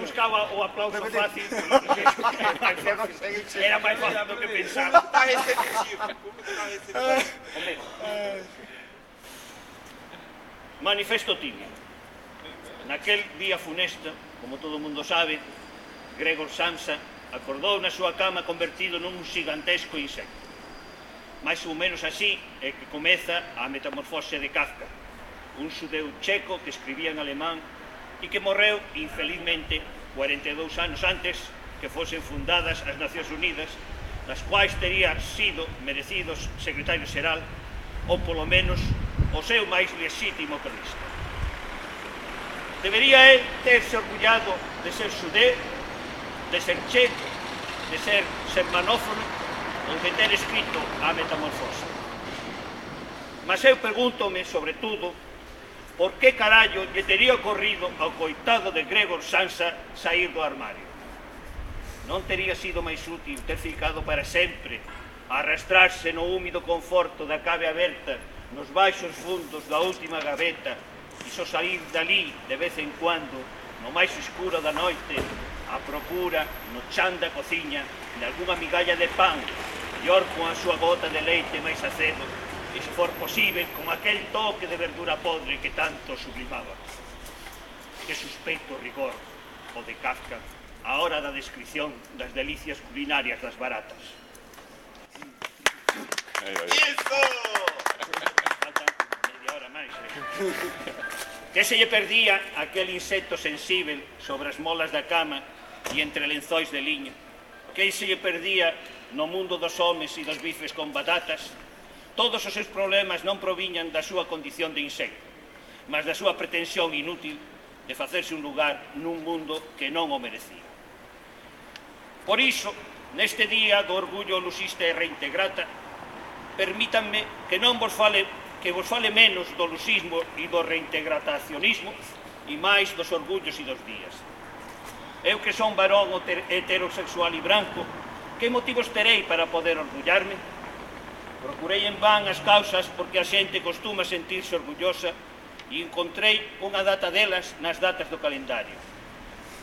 buscaba o aplauso fácil. Era máis fácil do que pensaba. Está receptivo. Manifesto tímido. Naquel día funesta, como todo o mundo sabe, Gregor Samsa acordou na súa cama convertido nun gigantesco insecto. Mais ou menos así é que comeza a metamorfose de Kafka, un xudeu checo que escribía en alemán e que morreu, infelizmente, 42 anos antes que fosen fundadas as Nacións Unidas, das quais tería sido merecidos secretario xeral ou, polo menos, o seu máis lexítimo cronista. Debería él terse orgullado de ser xudeu, de ser checo, de ser germanófono ou de ter escrito a metamorfose. Mas eu pregúntome, sobre todo, por que carallo lle tería ocorrido ao coitado de Gregor Samsa sair do armario. Non tería sido máis útil ter ficado para sempre a arrastrarse no húmido conforto da cave aberta nos baixos fundos da última gaveta e só sair dali de vez en cuando, no máis escuro da noite, a procura no chan da cociña de algunha migalla de pan, mellor con a súa gota de leite máis acedo, e se for posible con aquel toque de verdura podre que tanto sublimaba. Que suspeito rigor o de Kafka a hora da descripción das delicias culinarias das baratas. Iso! Falta media hora máis, Que se lle perdía aquel insecto sensível sobre as molas da cama e entre lenzóis de liño? Que se lle perdía no mundo dos homes e dos bifes con batatas? Todos os seus problemas non proviñan da súa condición de insecto, mas da súa pretensión inútil de facerse un lugar nun mundo que non o merecía. Por iso, neste día do orgullo lusista e reintegrata, permítanme que non vos fale menos do lusismo e do reintegratacionismo e máis dos orgullos e dos días. Eu que son varón heterosexual e branco, que motivos terei para poder orgullarme? Procurei en van as causas porque a xente costuma sentirse orgullosa e encontrei unha data delas nas datas do calendario.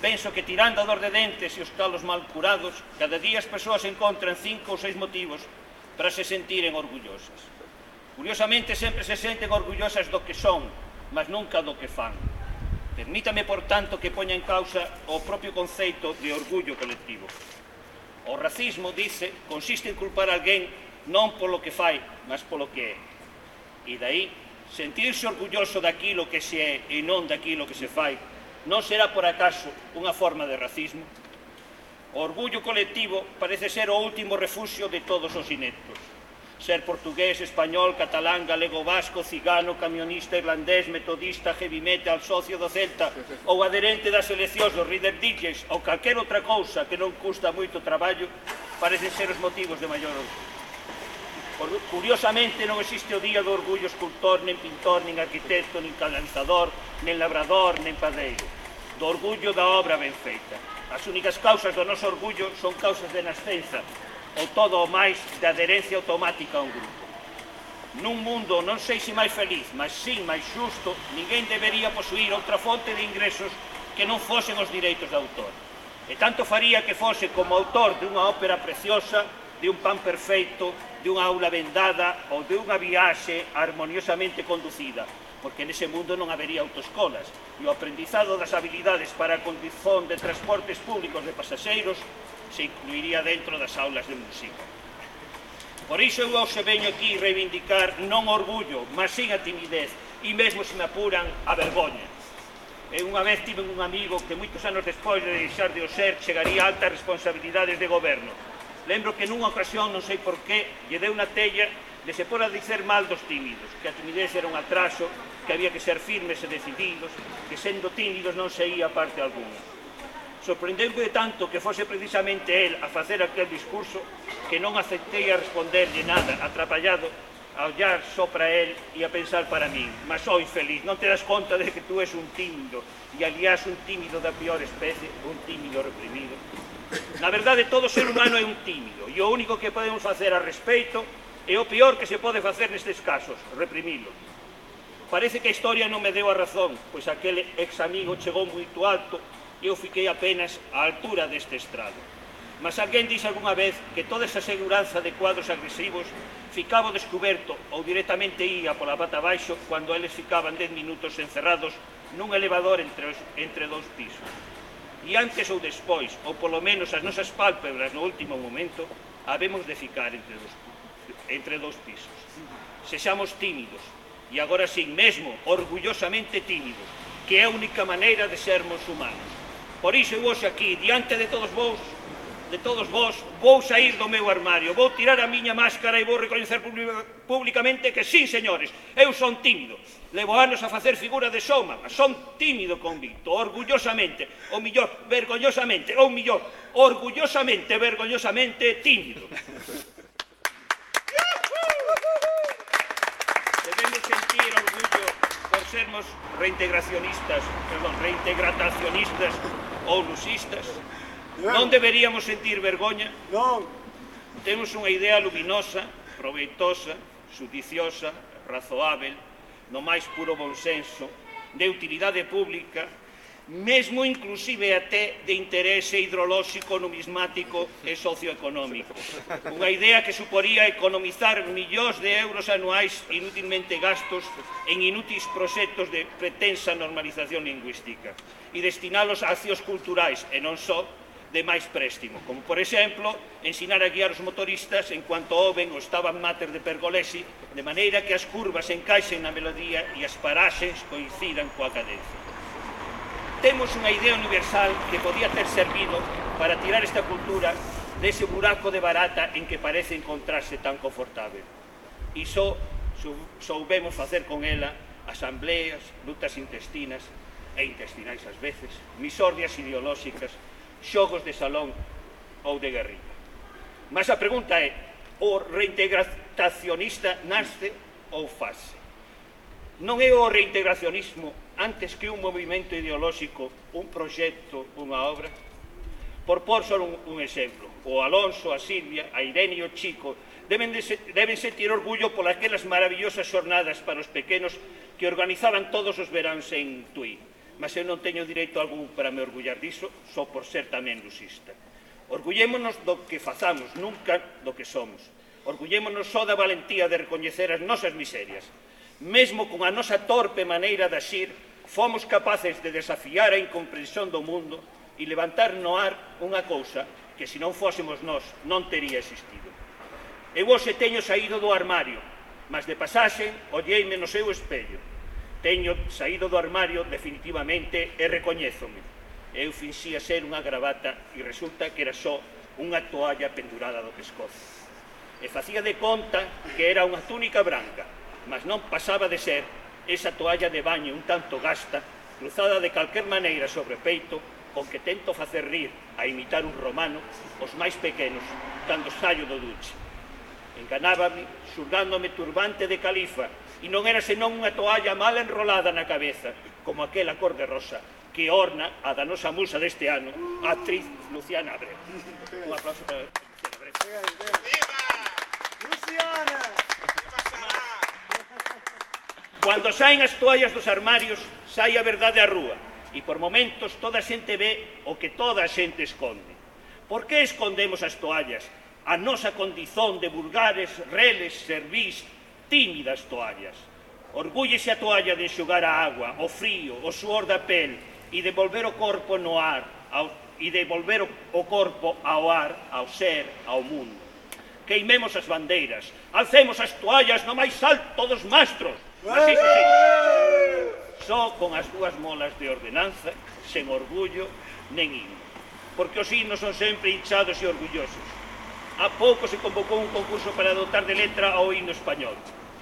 Penso que tirando a dor de dentes e os calos mal curados, cada día as persoas encontran 5 ou 6 motivos para se sentiren orgullosas. Curiosamente, sempre se senten orgullosas do que son, mas nunca do que fan. Permítame, por tanto, que poña en causa o propio conceito de orgullo colectivo. O racismo, dice, consiste en culpar a alguén non polo que fai, mas polo que é. E dai, sentirse orgulloso daquilo que se é e non daquilo que se fai, non será por acaso unha forma de racismo? O orgullo colectivo parece ser o último refuxio de todos os ineptos. Ser portugués, español, catalán, galego, vasco, cigano, camionista, irlandés, metodista, heavy metal, socio do Celta ou adherente das seleccións dos Reader Digits ou calquer outra cousa que non custa moito traballo, parecen ser os motivos de maior orgullo. Curiosamente, non existe o día do orgullo escultor, nen pintor, nen arquitecto, nen canalizador, nen labrador, nen padeiro. Do orgullo da obra ben feita. As únicas causas do noso orgullo son causas de nascenza, ou todo o máis de adherencia automática a un grupo. Nun mundo non sei se máis feliz, mas sim máis xusto, ninguén debería posuir outra fonte de ingresos que non fosen os direitos de autor. E tanto faría que fose como autor de unha ópera preciosa, de un pan perfeito, de unha aula vendada ou de unha viaxe armoniosamente conducida, porque nese mundo non habería autoescolas e o aprendizado das habilidades para a condición de transportes públicos de pasaxeiros se incluiría dentro das aulas de música. Por iso eu hoxe veño aquí reivindicar non orgullo, mas sin a timidez e mesmo se me apuran a vergoña. Eu unha vez tive un amigo que moitos anos despois de deixar de o ser chegaría a altas responsabilidades de goberno. Lembro que nunha ocasión, non sei por qué, lle deu unha tella de se por a dicer mal dos tímidos, que a timidez era un atraso, que había que ser firmes e decididos, que sendo tímidos non se ia a parte alguna. Sorprendeu-me tanto que fose precisamente el a facer aquel discurso que non aceptei a responderlle nada, atrapallado, a ollar só para el e a pensar para min. Mas, oh, infeliz, non te das conta de que tú és un tímido, e aliás un tímido da pior especie, un tímido reprimido. Na verdade, todo ser humano é un tímido, e o único que podemos facer a respeito é o peor que se pode facer nestes casos, reprimilo. Parece que a historia non me deu a razón, pois aquele ex amigo chegou moito alto Eu fiquei apenas á altura deste estrado. Mas alguén dixo algunha vez que toda esa seguranza de cuadros agresivos ficaba ao descoberto ou directamente ía pola pata abaixo cando eles ficaban 10 minutos encerrados nun elevador entre dous pisos. E antes ou despois, ou polo menos as nosas pálpebras no último momento, habemos de ficar entre dous pisos. Sexamos tímidos, e agora sin mesmo, orgullosamente tímidos, que é a única maneira de sermos humanos. Por iso eu hoxe aquí, diante de todos vos, vou sair do meu armario, vou tirar a miña máscara e vou recoñecer públicamente que sí, señores, eu son tímido. Levo anos a facer figura de soma, mas son tímido convicto, orgullosamente, ou millor, vergoñosamente, orgullosamente, vergoñosamente tímido. Debemos sentir orgullo por sermos reintegracionistas ou lusistas. Non deberíamos sentir vergoña? Non. Temos unha idea luminosa, proveitosa, judiciosa, razoável, no máis puro bonsenso, de utilidade pública, mesmo inclusive até de interese hidrolóxico, numismático e socioeconómico. Unha idea que suporía economizar millóns de euros anuais inútilmente gastos en inútiles proxectos de pretensa normalización lingüística e destinalos a accións culturais e non só de máis préstimo, como, por exemplo, ensinar a guiar os motoristas en cuanto oven o Stabat Mater de Pergolesi, de maneira que as curvas encaixen na melodía e as paraxes coincidan coa cadencia. Temos unha idea universal que podía ter servido para tirar esta cultura dese buraco de barata en que parece encontrarse tan confortável. E só soubemos facer con ela asambleas, lutas intestinais ás veces, misordias ideolóxicas, xogos de salón ou de guerrilla. Mas a pregunta é, o reintegracionista nasce ou fase? Non é o reintegracionismo antes que un movimento ideolóxico, un proxecto, unha obra? Por pôr só un exemplo, o Alonso, a Silvia, a Irene e o Chico deben sentir orgullo por aquelas maravillosas xornadas para os pequenos que organizaban todos os veráns en Tui. Mas eu non teño direito algún para me orgullar diso, só por ser tamén lusista. Orgullémonos do que fazamos, nunca do que somos. Orgullémonos só da valentía de recoñecer as nosas miserias. Mesmo con a nosa torpe maneira de axir, fomos capaces de desafiar a incomprensión do mundo e levantar no ar unha cousa que, se non fósemos nós, non tería existido. Eu hoxe teño saído do armario, mas de pasaxe olleime no seu espello. Teño saído do armario definitivamente e recoñézome. Eu finxía ser unha gravata e resulta que era só unha toalla pendurada do pescozo. E facía de conta que era unha túnica branca, mas non pasaba de ser esa toalla de baño un tanto gasta, cruzada de calquer maneira sobre o peito, con que tento facer rir, a imitar un romano, os máis pequenos, cando saio do duche. Enganábame, xulgándome turbante de califa, e non era senón unha toalla mal enrolada na cabeza, como aquela cor de rosa que orna a danosa musa deste ano, a actriz Luciana Abreu. Un aplauso para Luciana Abreu. ¡Viva! Luciana! Cando saen as toallas dos armarios, sai a verdade á rúa, e por momentos toda a xente ve o que toda a xente esconde. Por que escondemos as toallas? A nosa condizón de vulgares, reles, servís, tímidas toallas. Orgúllese a toalla de enxugar a agua, o frío, o suor da pel e de volver o corpo no ar, ao ar, ao ser, ao mundo. Queimemos as bandeiras, alcemos as toallas no máis alto dos mastros. Así que sí, só con as dúas molas de ordenanza, sen orgullo, nen himno. Porque os himnos son sempre hinchados e orgullosos. Há pouco se convocou un concurso para dotar de letra ao himno español.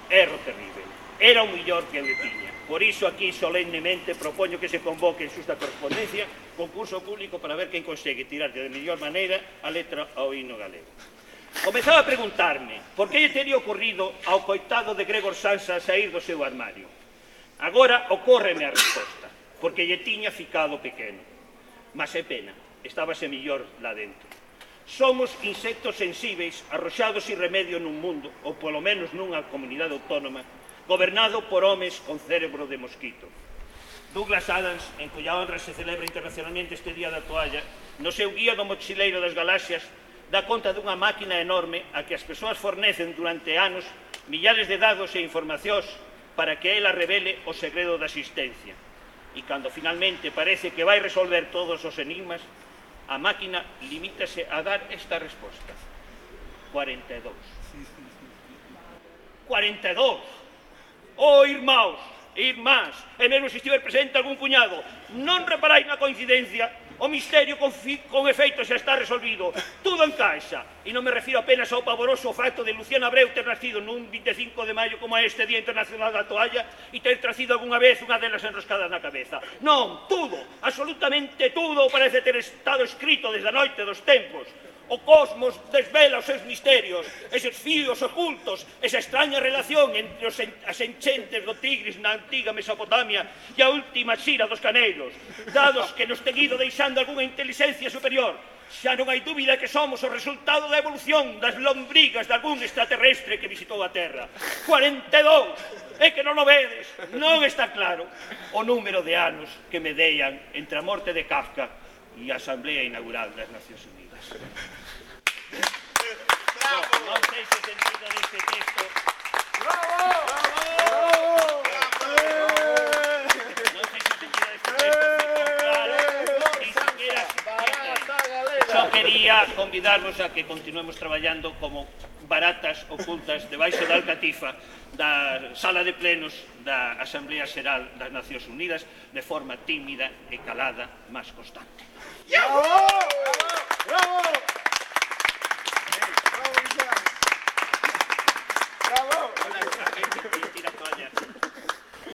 Erro terrible. Era o millor que eu tiña. Por iso aquí solemnemente propoño que se convoque en xusta correspondencia concurso público para ver quen consegue tirar de mellor maneira a letra ao himno galego. Comezaba a preguntarme por que lle teria ocorrido ao coitado de Gregor Samsa sair do seu armario. Agora ocórreme a resposta, porque lle tiña ficado pequeno. Mas é pena, estábase millor lá dentro. Somos insectos sensíveis, arroxados sin remedio nun mundo, ou polo menos nunha comunidade autónoma, gobernado por homes con cérebro de mosquito. Douglas Adams, en cuya honra se celebra internacionalmente este Día da Toalla, no seu guía do mochileiro das galaxias, dá conta dunha máquina enorme a que as persoas fornecen durante anos millares de dados e informacións para que ela revele o segredo da existencia. E cando finalmente parece que vai resolver todos os enigmas, a máquina limítase a dar esta resposta: 42. 42! Oh, irmãos e irmás, e mesmo se estiver presente algún cuñado, non reparais na coincidencia. O misterio con efeito xa está resolvido. Tudo encaixa. E non me refiro apenas ao pavoroso facto de Luciano Abreu ter nacido nun 25 de maio como este Día Internacional da Toalla e ter tracido algunha vez unha delas enroscada na cabeza. Non, tudo, absolutamente tudo parece ter estado escrito desde a noite dos tempos. O cosmos desvela os seus misterios, eses fíos ocultos, esa extraña relación entre as enchentes do Tigris na antiga Mesopotamia e a última xira dos Caneiros, dados que nos ten ido deixando algunha inteligencia superior. Xa non hai dúbida que somos o resultado da evolución das lombrigas de algún extraterrestre que visitou a Terra. 42! É que non o vedes, non está claro o número de anos que medeian entre a morte de Kafka e a Asamblea Inaugural das Nacións Unidas. Non sei se sentido deste texto. Non sei se sentido deste texto claro. Só quería convidarvos a que continuemos traballando como baratas ocultas debaixo da alcatifa da sala de plenos da Asamblea Xeral das Nacións Unidas de forma tímida e calada, mas constante. Bravo! Bravo!